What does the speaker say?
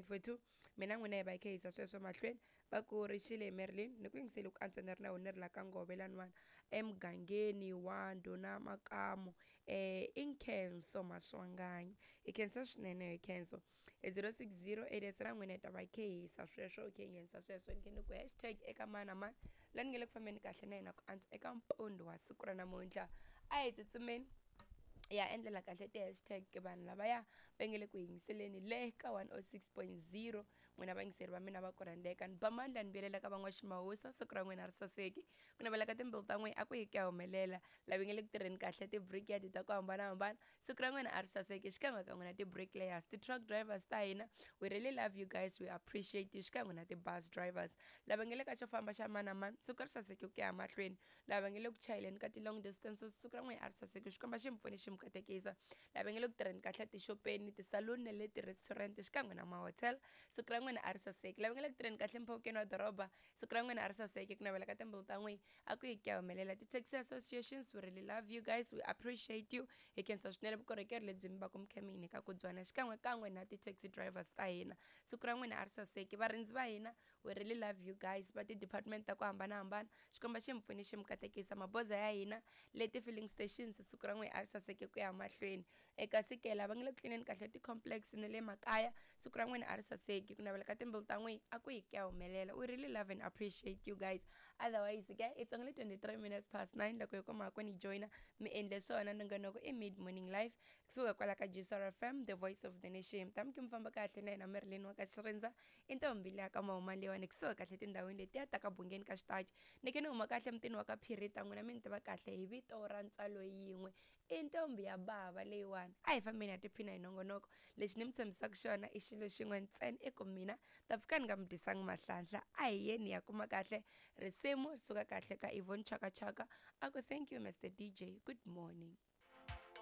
5942. Mina n'wina hi va hi kha hi yisa sweswo mahlweni. Va ku ri xile Marilyn ni ku yingiseli ku antswa ni ri na wena ni ri la ka ngove laniwani emugangeni wa ndhuna Makamu, i Nkhenso Maswanganyi. Hi khensa swinene hi Khenso. 060 8 na n'wina hi ta va hi kha hi yisa sweswo, hi kha hi nghenisa sweswo ni khe ni ku hashtag eka mani na mani la ni nge le ku fambeni kahle na yena ku antswa eka mpundzu wa siku ra namuntlha. A hi tsutsumeni ya endlela kahle ti-hashtag vanhu lavaya va nge le ku yingiseleni le ka 106.0. N'wina vayingiseri va mina va ku rhandzeka, ni ba mandla ni vuyelela ka van'waximahusa. Siku ra n'wina ri saseki, ku navela ka timbilu ta n'wina a ku yi ku ya humelela. Lava nge le ku tirheni kahle ti-brickyard ta ku hambanahambana, siku ra n'wina a ri saseki xikan'we ka n'wina ti-bricklayers, ti-truck drivers ta hina, we really love you guys, we appreciate you, xikan'we na ti-bus drivers. Lava nge le ka xo famba xa mani na mani, siku ri saseki ku ya mahlweni. Lava nge le ku chayeleni ka ti-long distances, siku ra n'wina a ri saseki, xikwembu xi mi pfuni xi mi katekisa. Lava nge le ku tirheni kahle tixopeni, tisaluni na le ti-restaurant xikan'we na ma-hotel, siku ra n'wina a ri saseki. Lava nge le ku tirheni kahle mpfhukeni wa doroba, siku ra n'wina a ri saseki, ku navela ka timbilu ta n'wina a ku yi ku ya humelela. Ti-taxi associations, we really love you guys, we appreciate you, hi khensa swinene vukorhokeri lebyi mi va ku mi kha mi hi nyika ku byona xikan'we kan'we na ti-taxi drivers ta hina, siku ra n'wina a ri saseki. Varindzi va hina, we really love you guys, va ti-department ta ku hambanahambana, xikwembu xi mi pfuni xi mi katekisa. Maboza ya hina le ti-filling stations, siku ra n'wina a ri saseki ku ya mahlweni. Eka sikela va nge le ku tlineni kahle ti-complex na le makaya, siku ra n'wina a ri saseki, ku navela ka timbilu ta n'wina a ku yi ku ya humelela. We really love and appreciate you guys. Otherwise ke it's only 23 minutes past 9 loko hi kuma ku ni joyina mi endle swona. Nongonoko i Mid Morning Life kusuka kwala ka Juicer FM, the voice of the nation. Tami ki mi famba kahle na yena Marilyn wa ka Xirindza, i ntombi leya ka mahuma leyiwani kusuka kahle tindhawini letiya ta ka bungeni ka xitachi. Ni ke ni huma kahle mutini wa ka Phirita, n'wina mi ni tiva kahle hi vito ra ntswalo yin'we, i ntombi ya bava leyiwani. A hi fambeni ha tiphina hi nongonoko. Lexi ni mi tshembisaka xona i xilo xin'we ntsena, i ku mina ta pfuka ni nga mi dyisangi mahlanhla. A hi yeni hi ya kuma kahle risimu ri suka kahle ka Yvonne Chaka Chaka, a ku thank you Mr DJ, good morning.